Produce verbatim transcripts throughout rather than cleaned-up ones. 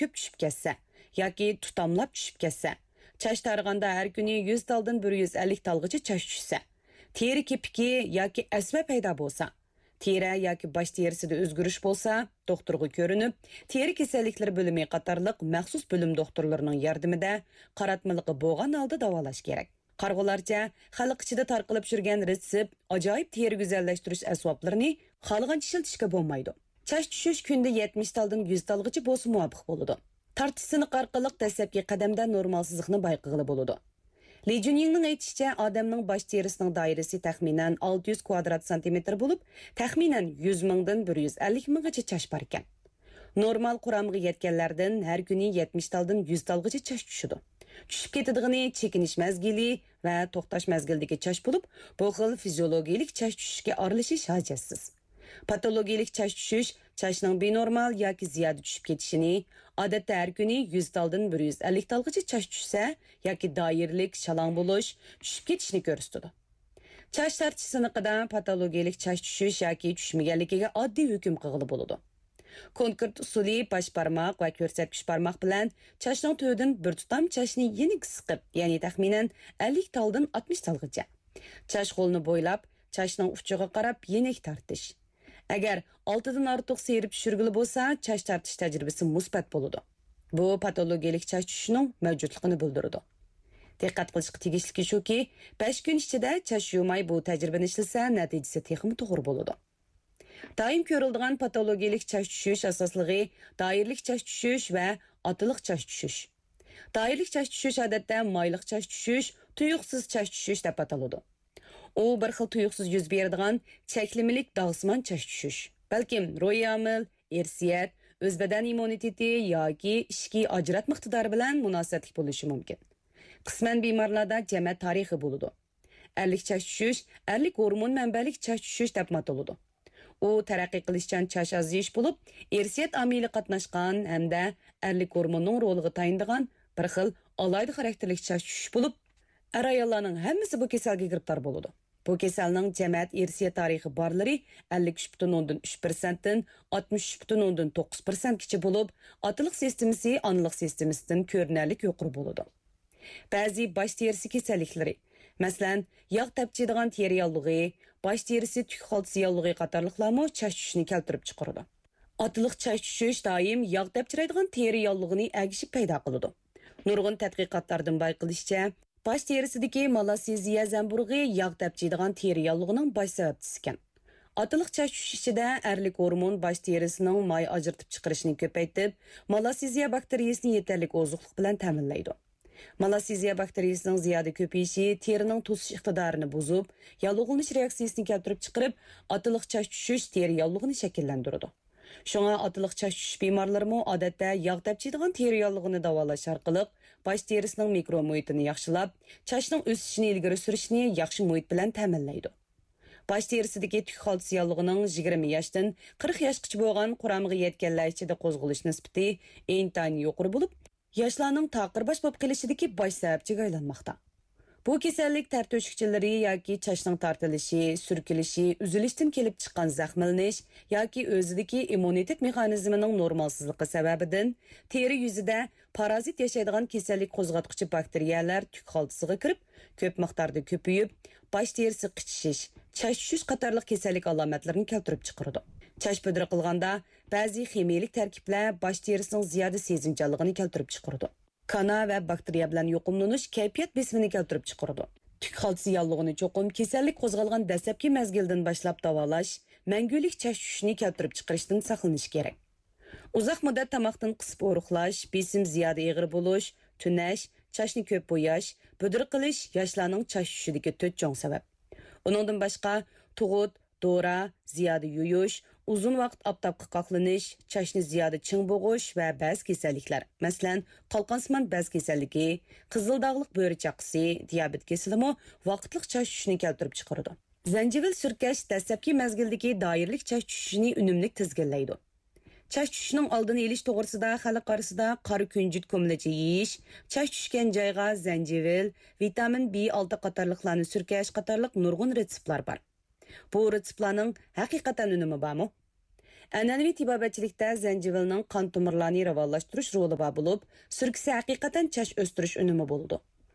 كۆپ چۈشۈپ كەتسە ياكى تۇتاملاپ چۈشۈپ كەتسە، چاچ تارىغاندا ھەر كۈنى يۈز تالدىن بىر يۈز ئەللىك تالغىچە چاچ چۈشسە، تېرە كېپىكى ياكى ئەسۋە پەيدا بولسا، تېرە ياكى باش تېرىسىدە ئۆزگىرىش بولسا، دوختۇرغا كۆرۈنۈپ، تېرە كېسەللىكلىرى بۆلۈمى قاتارلىق مەخسۇس بۆلۈم دوختۇرلىرىنىڭ ياردىمىدە قاراتمىلىقى بولغان ھالدا داۋالاش كېرەك. قارىغۇلارچە، خەلق ئىچىدە تارقىلىپ يۈرگەن رېتسېپ، ئاجايىپ تېرە گۈزەللەشتۈرۈش ئەسۋابلىرىنى خالىغانچە ئىشلىتىشكە بولمايدۇ. چاچ چۈشۈش كۈندە يەتمىش تالدىن يۈز تالغىچە بولسا مۇۋاپىق بولىدۇ. تارتىش سىنىقى ئارقىلىق دەسلەپكى قەدەمدە نورمالسىزلىقنى بايقىغىلى بولىدۇ. لى جۈنيىڭنىڭ ئېيتىشىچە، ئادەمنىڭ باش تېرىسىنىڭ دائىرىسى تەخمىنەن ئالتە يۈز كۋادرات سانتىمېتىر بولۇپ، تەخمىنەن يۈز مىڭدىن بىر يۈز ئەللىك مىڭغىچە چاچ باركەن. نورمال قۇرامىغا يەتكەنلەردىن ھەر كۈنى يەتمىش تالدىن يۈز تالغىچە چاچ چۈشىدۇ. چۈشۈپ كېتىدىغىنى چېكىنىش مەزگىلى ۋە توختاش مەزگىلىدىكى چاچ بولۇپ، بۇ خىل فىزىيولوگىيىلىك چاچ چۈشۈشكە ئارىلىشىش ھاجەتسىز. پاتولوگىيىلىك چاچ چۈشۈش چاچنىڭ بىنورمال ياكى زىيادە چۈشۈپ كېتىشىنى، ئادەتتە ھەر كۈنى يۈز تالدىن بىر يۈز ئەللىك تالغىچە چاچ چۈشسە ياكى دائىرىلىك شالاڭ بولۇش، چۈشۈپ كېتىشنى كۆرسىتىدۇ. چاچ تارتىش سىنىقىدا پاتولوگىيىلىك چاچ چۈشۈش ياكى چۈشمىگەنلىكىگە ئاددىي ھۆكۈم قىلغىلى بولىدۇ. كونكرېت ئۇسۇلى باش بارماق ۋە كۆرسەتكۈچ بارماق بىلەن چاچنىڭ تۈۋىدىن بىر تۇتام چاچنى يېنىك سىقىپ، يەنى تەخمىنەن ئەللىك تالدىن ئاتمىش تالغىچە، چاچ غولىنى بويلاپ، چاچنىڭ ئۇچىغا قاراپ يېنىك تارتىش. ئەگەر ئالتىدىن ئارتۇق سىيرىپ چۈشۈرگىلى بولسا، چاچ تارتىش تەجرىبىسى مۇسبەت بولىدۇ. بۇ پاتولوگىيىلىك چاچ چۈشۈشىنىڭ مەۋجۇتلۇقىنى بىلدۈرىدۇ. دىققەت قىلىشقا تېگىشلىكى شۇكى، بەش كۈن ئىچىدە چاچ يۇماي بۇ تەجرىبىنى ئىشلىسە، نەتىجىسى تېخىمۇ توغرا بولىدۇ. دائىم كۆرۈلىدىغان پاتولوگىيىلىك چاچ چۈشۈش ئاساسلىقى دائىرىلىك چاچ چۈشۈش ۋە ئاتىلىق چاچ چۈشۈش. دائىرىلىك چاچ چۈشۈش ئادەتتە مايلىق چاچ چۈشۈش، تۇيۇقسىز چاچ چۈشۈش دەپ ئاتىلىدۇ. ئۇ بىر خىل تۇيۇقسىز يۈز بېرىدىغان چەكلىمىلىك داغسىمان چاچ چۈشۈش. بەلكىم روھىي ئامىل، ئىرسىيەت، ئۆز بەدەن ئىممۇنىتېتى ياكى ئىچكى ئاجراتما ئىقتىدارى بىلەن مۇناسىۋەتلىك بولۇشى مۇمكىن. قىسمەن بىمارلاردا جەمەت تارىخى بولىدۇ. ئەرلىك چاچ چۈشۈش، ئەرلىك ھورمون مەنبەلىك چاچ چۈشۈش دەپمۇ ئاتىلىدۇ. ئۇ تەرەققىي قىلىشچان چاچ ئازىيىش بولۇپ، ئىرسىيەت ئامىلى قاتناشقان ھەمدە ئەرلىك ھورموننىڭ رولىغا تايىنىدىغان بىر خىل ئالاھىدە خاراكتېرلىك چاچ چۈشۈش بولۇپ، ئەر-ئاياللارنىڭ ھەممىسى بۇ كېسەلگە گىرىپتار بولىدۇ. بۇ كېسەلنىڭ جەمەت ئىرسىيەت تارىخى بارلىرى ئەللىك ئۈچ پۈتۈن ئوندىن ئۈچ پىرسەنتتىن ئاتمىش ئۈچ پۈتۈن ئوندىن توققۇز پىرسەنتكىچە بولۇپ، ئاتىلىق سىستېمىسى ئانىلىق سىستېمىسىدىن كۆرۈنەرلىك يۇقىرى بولىدۇ. بەزى باش تېرىسى كېسەللىكلىرى، مەسىلەن، ياغ تەپچىيدىغان تېرە ياللۇغى، باش تېرىسى تۈك خالتىسى ياللۇغى قاتارلىقلارمۇ چاچ چۈشۈشنى كەلتۈرۈپ چىقىرىدۇ. ئاتىلىق چاچ چۈشۈش دائىم ياغ تەپچىرايدىغان تېرە ياللۇغىنى ئەگىشىپ پەيدا قىلىدۇ. نۇرغۇن تەتقىقاتلاردىن بايقىلىشىچە، باش تېرىسىدىكى مالاسسېزىيە زەمبۇرۇغى ياغ تەپچىيدىغان تېرە ياللۇغىنىڭ باش سەۋەبچىسىكەن. ئاتىلىق چاچ چۈشۈش ئىچىدە ئەرلىك ھورمون باش تېرىسىنىڭ ماي ئاجرىتىپ چىقىرىشىنى كۆپەيتىپ، مالاسسېزىيە باكتېرىيىسىنى يېتەرلىك ئوزۇقلۇق بىلەن تەمىنلەيدۇ. مالاسسېزىيە باكتېرىيىسىنىڭ زىيادە كۆپىيىشى تېرىنىڭ توسۇش ئىقتىدارىنى بۇزۇپ، ياللۇغلىنىش رېئاكسىيىسىنى كەلتۈرۈپ چىقىرىپ، ئاتىلىق چاچ چۈشۈش تېرە ياللۇغىنى شەكىللەندۈرىدۇ. شۇڭا ئاتىلىق چاچ چۈشۈش بىمارلىرىمۇ ئادەتتە ياغ تەپچىيدىغان تېرە ياللۇغىنى داۋالاش ئارقىلىق باش تېرىسىنىڭ مىكرو مۇھىتىنى ياخشىلاپ، چاچنىڭ ئۆسۈشىنى ئىلگىرى سۈرۈشنى ياخشى مۇھىت بىلەن تەمىنلەيدۇ. باش تېرىسىدىكى تۈك خالتىسى ياللۇغىنىڭ يىگىرمە ياشتىن قىرىق ياشقىچە بولغان قۇرامىغا يەتكەنلەر ئىچىدە قوزغىلىش نىسبىتى ئىنتايىن يۇقىرى بولۇپ، ياشلارنىڭ تاقىر باش بولۇپ قېلىشىدىكى باش سەۋەبچىگە ئايلانماقتا. بۇ كېسەللىك تەر تۆشۈكچىلىرى ياكى چاچنىڭ تارتىلىشى، سۈركىلىشى، ئۈزۈلۈشتىن كېلىپ چىققان زەخىملىنىش ياكى ئۆزىدىكى ئىممۇنىتېت مېخانىزمىنىڭ نورمالسىزلىقى سەۋەبىدىن تېرە يۈزىدە پارازىت ياشايدىغان كېسەللىك قوزغاتقۇچى باكتېرىيەلەر تۈك خالتىسىغا كىرىپ، كۆپ مىقداردا كۆپىيىپ، باش تېرىسى قىچىشىش، چاچ چۈشۈش قاتارلىق كېسەللىك ئالامەتلىرىنى كەلتۈرۈپ چىقىرىدۇ. چاچ پۇدرا قىلغاندا، بەزى خىمىيىلىك تەركىبلەر باش تېرىسىنىڭ زىيادە سېزىمچانلىقىنى كەلتۈرۈپ چىقىرىدۇ. كانا ۋە باكتېرىيە بىلەن يۇقۇملىنىش كەيپىيات بېسىمىنى كەلتۈرۈپ چىقىرىدۇ. تۈك خالتىسى ياللۇغىنى چوقۇم كېسەللىك قوزغالغان دەسلەپكى مەزگىلدىن باشلاپ داۋالاش، مەڭگۈلۈك چاچ چۈشۈشنى كەلتۈرۈپ چىقىرىشتىن ساقلىنىش كېرەك. ئۇزاق مۇددەت تاماقتىن قىسىپ ئورۇقلاش، بېسىم زىيادە ئېغىر بولۇش، تۈنەش، چاچنى كۆپ بوياش، بۈدرە قىلىش ياشلارنىڭ چاچ چۈشۈشىدىكى تۆت چوڭ سەۋەب. ئۇنىڭدىن باشقا، تۇغۇت، دورا، زىيادە يۇيۇش، ئۇزۇن ۋاقىت ئاپتاپقا قاقلىنىش، چاچنى زىيادە چىڭ بوغۇش ۋە بەزى كېسەللىكلەر، مەسىلەن، قالقانسىمان بەز كېسەللىكى، قىزىل داغلىق بۆرە چاقىسى، دىيابېت كېسىلىمۇ ۋاقىتلىق چاچ چۈشۈشنى كەلتۈرۈپ چىقىرىدۇ. زەنجىۋىل سۈركەش دەسلەپكى مەزگىلدىكى دائىرىلىك چاچ چۈشۈشىنى ئۈنۈملۈك تىزگىنلەيدۇ. چاچ چۈشۈشنىڭ ئالدىنى ئېلىش توغرىسىدا خەلق ئارىسىدا قارا كۈنجۈت كۇمىلىچە يېيىش، چاچ چۈشكەن جايغا زەنجىۋىل، ۋىتامىن بى ئالتە قاتارلىقلارنى سۈركەش قاتارلىق نۇرغۇن رېتسېپلار بار. بۇ رېتسېپلارنىڭ ھەقىقەتەن ئۈنۈمى بارمۇ؟ ئەنئەنىۋى تېبابەتچىلىكتە زەنجىۋىلنىڭ قان تومۇرلارنى راۋانلاشتۇرۇش رولى بار بولۇپ، سۈركىسى ھەقىقەتەن چاچ ئۆستۈرۈش ئۈنۈمى بولىدۇ.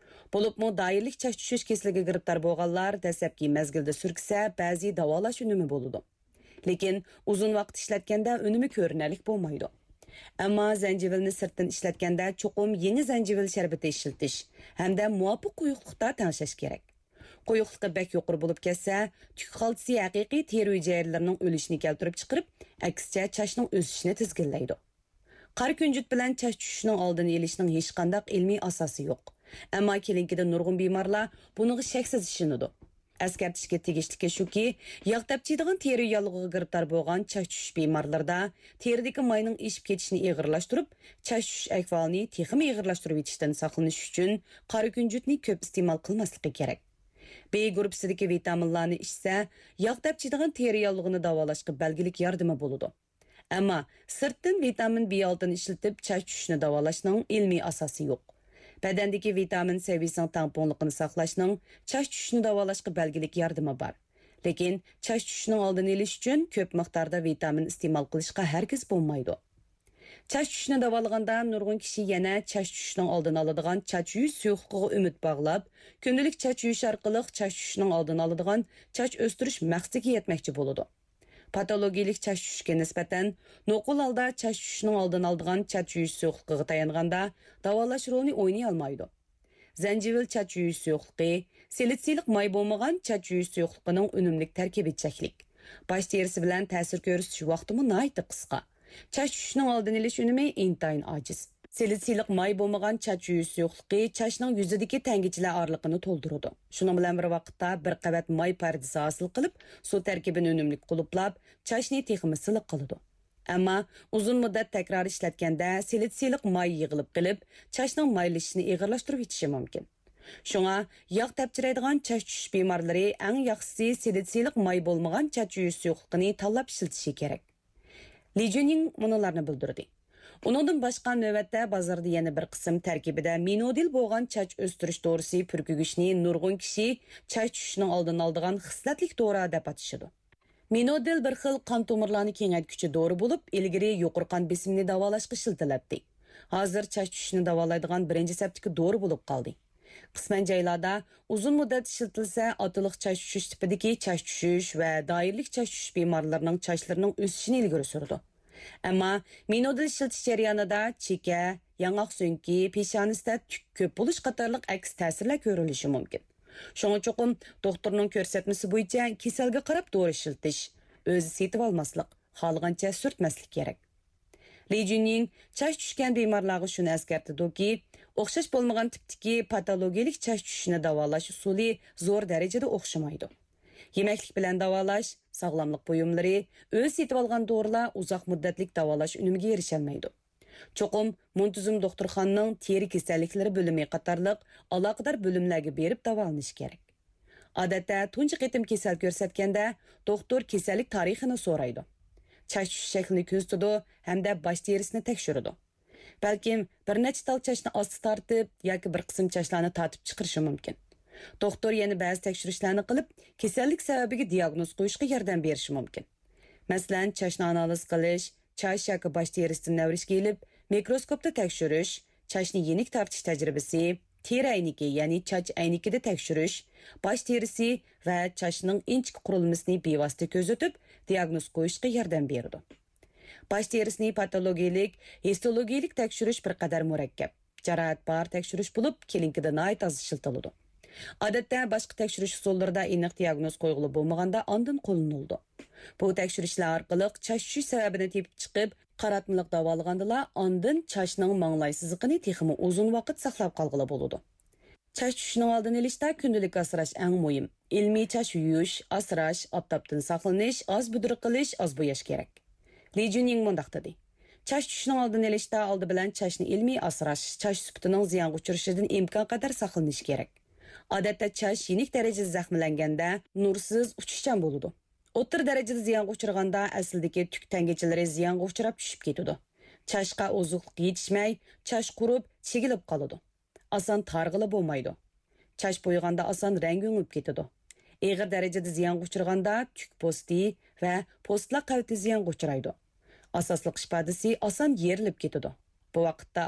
بولۇپمۇ دائىرىلىك چاچ چۈشۈش كېسىلىگە گىرىپتار بولغانلار دەسلەپكى مەزگىلدە سۈركىسە بەزى داۋالاش ئۈنۈمى بولىدۇ. لېكىن ئۇزۇن ۋاقىت ئىشلەتكەندە ئۈنۈمى كۆرۈنەرلىك بولمايدۇ. ئەمما زەنجىۋىلنى سىرتتىن ئىشلەتكەندە چوقۇم يېڭى زەنجىۋىل شەربىتى ئىشلىتىش ھەمدە مۇۋاپىق قويۇقلۇقتا تەڭشەش كېرەك. قويۇقلۇقى بەك يۇقىرى بولۇپ كەتسە، تۈك خالتىسى ھەقىقىي تېرە ھۈجەيرىلىرىنىڭ ئۆلۈشىنى كەلتۈرۈپ چىقىرىپ، ئەكسىچە چاچنىڭ ئۆسۈشىنى تىزگىنلەيدۇ. قارا كۈنجۈت بىلەن چاچ چۈشۈشىنىڭ ئالدىنى ئېلىشنىڭ ھېچقانداق ئىلمىي ئاساسى يوق. ئەمما كېلىنكىدە نۇرغۇن بىمارلار بۇنىڭغا شەكسىز ئىشىنىدۇ. ئەسكەرتىشكە تېگىشلىكى شۇكى، ياغ تەپچىيدىغان تېرە ياللۇغىغا گىرىپتار بولغان چاچ چۈشۈش بىمارلىرىدا تېرىدىكى ماينىڭ ئېشىپ كېتىشىنى ئېغىرلاشتۇرۇپ، چاچ چۈشۈش ئەھۋالىنى تېخىمۇ ئېغىرلاشتۇرۇۋېتىشتىن ساقلىنىش ئۈچۈن قارا كۈنجۈتنى كۆپ ئىستېمال قىلماسلىقى كېرەك. بى گۇرۇپپىسىدىكى ۋىتامىنلارنى ئىچسە، ياغ تەپچىيدىغان تېرە ياللۇغىنى داۋالاشقا بەلگىلىك ياردىمى بولىدۇ. ئەمما سىرتتىن ۋىتامىن بى ئالتىنى ئىشلىتىپ چاچ چۈشۈشنى داۋالاشنىڭ ئىلمىي ئاساسى يوق. بەدەندىكى ۋىتامىن سەۋىيىسىنىڭ تەڭپۇڭلۇقىنى ساقلاشنىڭ چاچ چۈشۈشنى داۋالاشقا بەلگىلىك ياردىمى بار. لېكىن چاچ چۈشۈشنىڭ ئالدىنى ئېلىش ئۈچۈن كۆپ مىقداردا ۋىتامىن ئىستېمال قىلىشقا ھەرگىز بولمايدۇ. چاچ چۈشۈشنى داۋالىغاندا نۇرغۇن كىشى يەنە چاچ چۈشۈشنىڭ ئالدىنى ئالىدىغان چاچ يۇيۇش سۇيۇقلۇقىغا ئۈمىد باغلاپ، كۈندىلىك چاچ يۇيۇش ئارقىلىق چاچ چۈشۈشنىڭ ئالدىنى ئالىدىغان چاچ ئۆستۈرۈش مەقسىتىگە يەتمەكچى بولىدۇ. پاتولوگىيىلىك چاچ چۈشۈشكە نىسبەتەن، نوقۇل ھالدا چاچ چۈشۈشنىڭ ئالدىنى ئالىدىغان چاچ يۇيۇش سۇيۇقلۇقىغا تايانغاندا، داۋالاش رولىنى ئوينىيالمايدۇ. زەنجىۋىل چاچ يۇيۇش سۇيۇقلۇقى، سىلىتسىلىق ماي بولمىغان چاچ يۇيۇش سۇيۇقلۇقىنىڭ ئۈنۈملۈك تەركىبى چەكلىك. باش تېرىسى بىلەن تەسىر كۆرسىتىش ۋاقتىمۇ ناھايىتى قىسقا. چاچ چۈشۈشنىڭ ئالدىنى ئېلىش ئۈنۈمى ئىنتايىن ئاجىز. سىلىتسىلىق ماي بولمىغان چاچ يۇيۇش سۇيۇقلۇقى چاچنىڭ يۈزىدىكى تەڭگىچىلەر ئارىلىقىنى تولدۇرىدۇ. شۇنىڭ بىلەن بىر ۋاقىتتا بىر قەۋەت ماي پەردىسى ھاسىل قىلىپ، سۇ تەركىبىنى ئۈنۈملۈك قۇلۇپلاپ، چاچنى تېخىمۇ سىلىق قىلىدۇ. ئەمما ئۇزۇن مۇددەت تەكرار ئىشلەتكەندە سىلىتسىلىق ماي يىغىلىپ قېلىپ، چاچنىڭ مايلىشىشىنى ئېغىرلاشتۇرۇۋېتىشى مۇمكىن. شۇڭا ياغ تەپچىرەيدىغان چاچ چۈشۈش بىمارلىرى ئەڭ ياخشىسى سىلىتسىلىق ماي بولمىغان چاچ يۇيۇش سۇيۇقلۇقىنى تاللاپ ئىشلىتىشى كېرەك. لى جۈنيىڭ مۇنۇلارنى بىلدۈردى. ئۇنىڭدىن باشقا نۆۋەتتە بازاردا يەنە بىر قىسىم تەركىبىدە مىنودىل بولغان چاچ ئۆستۈرۈش دورىسى پۈركۈگۈچنى نۇرغۇن كىشى چاچ چۈشۈشنىڭ ئالدىنى ئالىدىغان خىسلەتلىك دورا دەپ ئاتىشىدۇ. مىنودىل بىر خىل قان تومۇرلارنى كېڭەيتكۈچى دورا بولۇپ، ئىلگىرى يۇقىرى قان بېسىمىنى داۋالاشقا ئىشلىتىلەتتى. ھازىر چاچ چۈشۈشنى داۋالايدىغان بىرىنچى سەپتىكى دورا بولۇپ قالدى. قىسمەن جايلاردا ئۇزۇن مۇددەت ئىشلىتىلسە، ئاتىلىق چاچ چۈشۈش تىپىدىكى چاچ چۈشۈش ۋە دائىرىلىك چاچ چۈشۈش بىمارلىرىنىڭ چاچلىرىنىڭ ئۆسۈشىنى ئىلگىرى سۈرىدۇ. ئەمما مىنودىل ئىشلىتىش جەريانىدا چېكە، ياڭاق سۆڭىكى، پېشانىسىدە تۈك كۆپ بولۇش قاتارلىق ئەكس تەسىرلەر كۆرۈلۈشى مۇمكىن. شۇڭا چوقۇم دوختۇرنىڭ كۆرسەتمىسى بويىچە كېسەلگە قاراپ دورا ئىشلىتىش، ئۆزى سېتىۋالماسلىق، خالىغانچە سۈرتمەسلىك كېرەك. لى جۈنيىڭ چاچ چۈشكەن بىمارلارغا شۇنى ئەسكەرتىدۇكى، ئوخشاش بولمىغان تىپتىكى پاتولوگىيىلىك چاچ چۈشۈشنى داۋالاش ئۇسۇلى زور دەرىجىدە ئوخشىمايدۇ. يېمەكلىك بىلەن داۋالاش، ساغلاملىق بۇيۇملىرى، ئۆزى سېتىۋالغان دورىلار ئۇزاق مۇددەتلىك داۋالاش ئۈنۈمىگە ئېرىشەلمەيدۇ. چوقۇم مۇنتىزىم دوختۇرخانىنىڭ تېرە كېسەللىكلىرى بۆلۈمى قاتارلىق ئالاقىدار بۆلۈملەرگە بېرىپ داۋالىنىش كېرەك. ئادەتتە تۇنجى قېتىم كېسەل كۆرسەتكەندە، دوختۇر كېسەللىك تارىخىنى سورايدۇ. چاچ چۈشۈش شەكلىنى كۆزىتىدۇ ھەمدە باش تېرىسىنى تەكشۈرىدۇ. بەلكىم بىر نەچچە تال چاچنى ئاستا تارتىپ ياكى بىر قىسىم چاچلارنى تارتىپ چىقىرىشى مۇمكىن. دوختۇر يەنە بەزى تەكشۈرۈشلەرنى قىلىپ، كېسەللىك سەۋەبىگە دىياگنوز قويۇشقا ياردەم بېرىشى مۇمكىن. مەسىلەن، چاچنى ئانالىز قىلىش، چاچ ياكى باش تېرىسىدىن نەۋرىشكە ئېلىپ، مىكروسكوپتا تەكشۈرۈش، چاچنى يېنىك تارتىش تەجرىبىسى، تېرە ئەينىكى، يەنى چاچ ئەينىكىدە تەكشۈرۈش، باش تېرىسى ۋە چاچنىڭ ئىنچىكە قۇرۇلمىسىنى بىۋاسىتە كۆزىتىپ، دىياگنوز قويۇشقا ياردەم بېرىدۇ. باش تېرىسىنى پاتولوگىيىلىك، ھىستولوگىيىلىك تەكشۈرۈش بىر قەدەر مۇرەككەپ، جاراھەت بار تەكشۈرۈش بولۇپ، كلىنىكىدا ناھايىتى ئاز ئىشلىتىلىدۇ. ئادەتتە باشقا تەكشۈرۈش ئۇسۇللىرىدا ئېنىق دىياگنوز قويغىلى بولمىغاندا ئاندىن قوللىنىلىدۇ. بۇ تەكشۈرۈشلەر ئارقىلىق چاچ چۈشۈش سەۋەبىنى تېپىپ چىقىپ، قاراتمىلىق داۋالىغاندىلا ئاندىن چاچنىڭ ماڭلاي سىزىقىنى تېخىمۇ ئۇزۇن ۋاقىت ساقلاپ قالغىلى بولىدۇ. چاچ چۈشۈشنىڭ ئالدىنى ئېلىشتا كۈندىلىك ئاسراش ئەڭ مۇھىم. ئىلمىي چاچ يۇيۇش، ئاسراش، ئاپتاپتىن ساقلىنىش، ئاز بۈدرە قىلىش، ئاز بوياش كېرەك. لى جۈنيىڭ مۇنداق دېدى: چاچ چۈشۈشنىڭ ئالدىنى ئېلىشتا ئالدى بىلەن چاچنى ئىلمىي ئاسراش، چاچ سۈپىتىنىڭ زىيانغا ئۇچرىشىدىن ئىمكان قەدەر ساقلىنىش كېرەك. ئادەتتە چاچ يېنىك دەرىجىدە زەخىملەنگەندە نۇرسىز، ئۇچۇشچان بولىدۇ. ئوتتۇرا دەرىجىدە زىيانغا ئۇچرىغاندا ئەسلىدىكى تۈك تەڭگىچىلىرى زىيانغا ئۇچراپ چۈشۈپ كېتىدۇ. چاچقا ئوزۇقلۇق يېتىشمەي، چاچ قۇرۇپ، چىگىلىپ قالىدۇ. ئاسان تارىغىلى بولمايدۇ. چاچ بويىغاندا ئاسان رەڭگى ئۆڭۈپ كېتىدۇ. ئېغىر دەرىجىدە زىيانغا ئۇچرىغاندا تۈك پوستى ۋە پوستلار قەۋىتى زىيانغا ئۇچرايدۇ. ئاساسلىق ئىپادىسى ئاسان يېرىلىپ كېتىدۇ. بۇ ۋاقىتتا